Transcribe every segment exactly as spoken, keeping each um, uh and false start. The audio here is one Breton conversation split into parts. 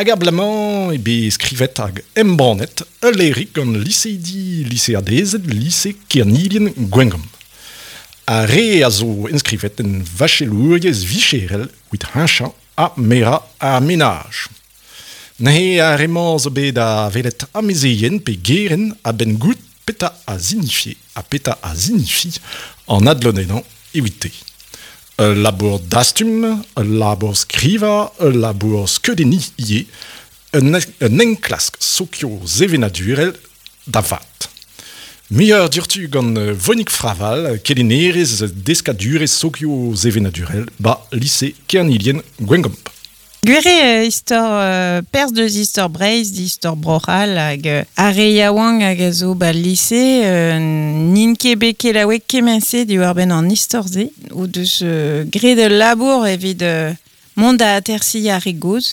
Hag ar blamañ e bet skrivet hag embannet ul levrig gant liseidi liseadezed lise Kernilien Gwengamp. Ar re a zo enskrivet en vachelouriezh vicherel evit heñchañ ha merañ ar menaj. Neuze ar re-mañ zo bet da welet amezeien pe gerent a-benn goût petra a signifie ha petra a signifi an adlodennañ evite. Ul labour dastum, ul labour skrivañ, ul labour skeudenniñ ivez, un, un enklask sokio-sevenadurel da vat. Muioc'h diouzhtu gant Vonig Fraval, kelennerez deskadurezh sokio-sevenadurel ba lise Kernilien Gwengamp. Gwir eo istor euh, perzh deus istor Breizh, istor Bro-C'hall hag euh, ar re yaouank hag a zo ba lise euh, n'int ket bet kelaouet kement-se diwar-benn an istor-se o deus euh, graet ul labour evit euh, mont da atersiñ ar re gozh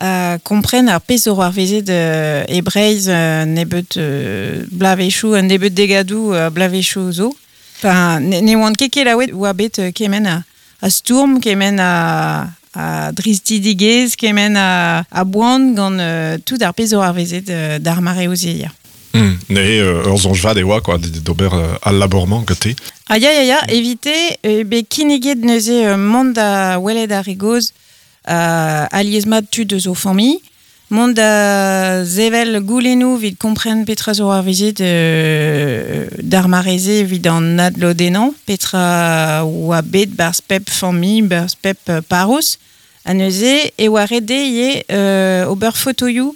a kompren ar pezh zo c'hoarvezet euh, e Breizh euh, nebeut euh, bloavezhioù, un nebeut degadoù euh, bloavezhioù zo. Enfin, ne, ne oant ket kelaouet oa bet euh, kement a, a stourm, kement a, a dristidigezh, kement a, a boan gant euh, tout ar pezh zo c'hoarvezet euh, d'ar mareoù-se ya. Mm. Neuze euh, ur soñj vat e oa quoi, d'ober euh, al labour-mañ gante. Ah ya ya ya, evite, e bet kinniget neuze euh, mont da welet ar re gozh euh, alies-mat tud eus o familh, mont da sevel goulennoù evit kompren petra zo c'hoarvezet euh, d'ar mare-se evit an adlodennañ, petra oa bet barzh pep familh, barzh pep euh, parrouz, ha neuze e oa ret dezhe ivez euh, ober fotoioù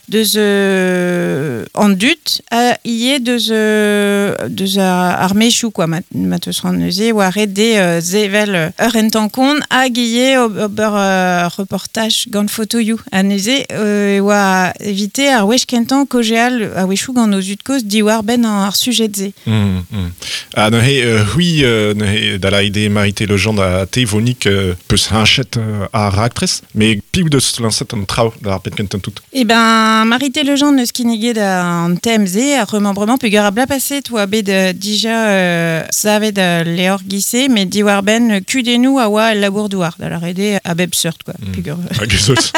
deus euh, an dud ha ivez deus, euh, deus ar, ar maezioù quoi, ma, ma teus c'hoant neuze oa ret dezhe euh, sevel ur rentañ-kont hag ivez ober euh, reportaj gant fotoioù. Ha neuze euh, e oa evite ar wech kentañ kaozeal a-wechoù gant o zud-kozh diwar-benn ar sujed-se. Mm, mm. Ha neuze, euh, c'hwi, euh, neuze, da lâret eo Marité Legendre ha te Vonig euh, peus heñchet euh, ar raktres, met piv deus lañset an traoù d'ar penn kentañ tout. Eh ben, Marité Legendre neus kinniget an tem-se, ar remembrement peogwir ar bloaz paset oa bet euh, dija euh, savet euh, levr giz-se, met diwar-benn kudennoù a oa el labour-douar, da lâret eo a bep seurt, quoi. Mm. Peogwir Hag ez eus.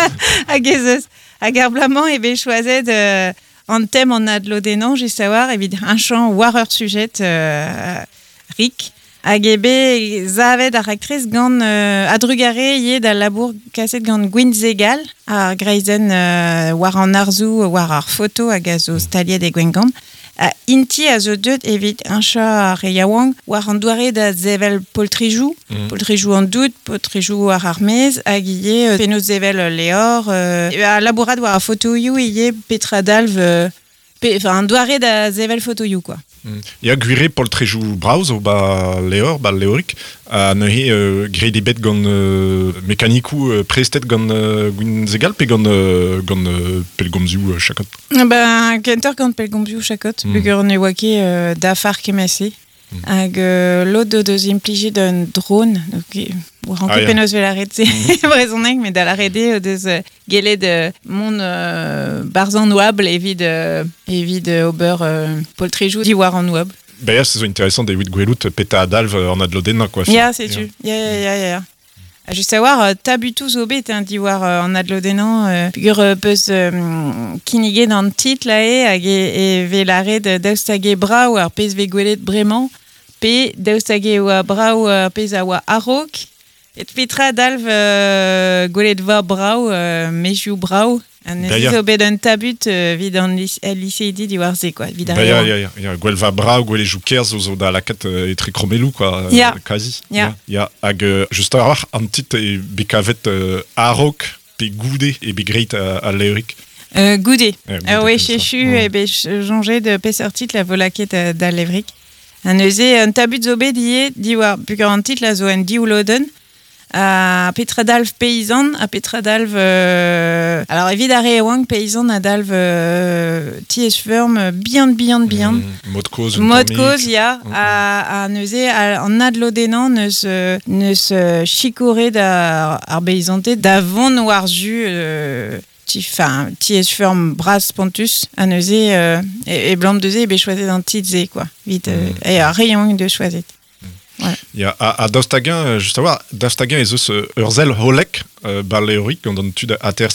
Hag ez eus. Hag ar bloaz-mañ e bet choazet euh, an tem an adlodennañ, just a-walc'h, evit heñchañ war ur sujed euh, rik. Hag eo bet savet ar raktres gant euh, a-drugarez ivez d'al labour kaset gant Gwinzegal, ar greizenn euh, war an arzoù, war ar foto hag a zo staliet e Gwengamp. Ha int-i a zo deuet evit heñchañ ar re yaouank war an doare da sevel poltrejoù, Mm. poltrejoù an dud, poltrejoù war ar maez, hag ivez euh, penaos sevel levr, euh, ha labourat war ar fotoioù ivez petra dalv, euh, pe, enfin, an doare da sevel fotoioù, quoi. Mm. Ya gwir eo poltrejoù brav zo ba levr, ba levrig, ha neuze euh, graet eo bet gant euh, mekanikoù euh, prestet gant euh, Gwinzegal pe gant, euh, gant euh, pellgomzioù euh, Chakot. Ben, kentoc'h gant pellgomzioù Chakot, Mm. peogwir ne oa ket euh, dafar kement-se. Mm. Hag euh, lod o deus implijet un drone, donc, e, oa Ah, ket ya. penaos 'vez lâret se Mm. brezhoneg, met da lâret eo o deus euh, gellet euh, mont euh, barzh an oabl evit, euh, evit euh, ober euh, poltrejoù diwar an oabl. Ben ya, se zo interesant evit gwelout petra a dalv an adlodennañ, quoi. Ya, setu. Ya, ya, ya, ya, ya. Ha just a-walc'h, euh, tabutoù zo bet hein, diwar euh, an adlodennañ, euh, peogwir euh, peus euh, kinniget an titl aze hag e, e vez lâret euh, daoust hag eo brav ar pezh vez gwelet bremañ, pe daoust hag e oa brav ar pezh a oa a-raok, et petra dalv euh, gwelet va brav, euh, maezioù brav. Ha neuze D'ailleurs. zo bet un tabut euh, evit an lis- al liseidi diwar se, quoi, evit ar Ba ya, re ya, ya, ya, gwelva brav, gwelejou kerz zo zo da lakaat euh, etre kromelloù, quoi, euh, Ya. quasi. Ya. Ya, hag euh, just a-walc'h an titl e bet kavet euh, a-raok pe goude e bet graet a, al levrig. Euh, goude. Eh, goude, Ah ouais, comme ça. chechu Mm. e bet soñjet de peseurt titl a vo lakaet euh, d'al levrig. Ha neuze un tabut zo bet ivez diwar peogwir an titl a zo en div lodenn. Ha petra dalv peizant, ha petra dalv... Euh... Alors evit ar re yaouank peizant a dalv euh, tiez-feurm bihan, bihan, bihan. Mm, mod kozh, un Mod tammig. kozh, ya, Mm. ha, ha neuze a- an adlodennañ neus, euh, neus euh, sikouret ar, ar beizanted da vont war-zu euh, ti, enfin, tiez-feurm bras spontus, ha neuze euh, e, e blam deus e bet choazet an titl-se, quoi. Evit, euh, Mm. e ar re yaouank deus choazet. Ya, ha, ha daoust hag-eñ, euh, just a-walc'h, daoust hag-eñ ez eus euh, ur sell hollek euh, ba levrig gant an tud aterset.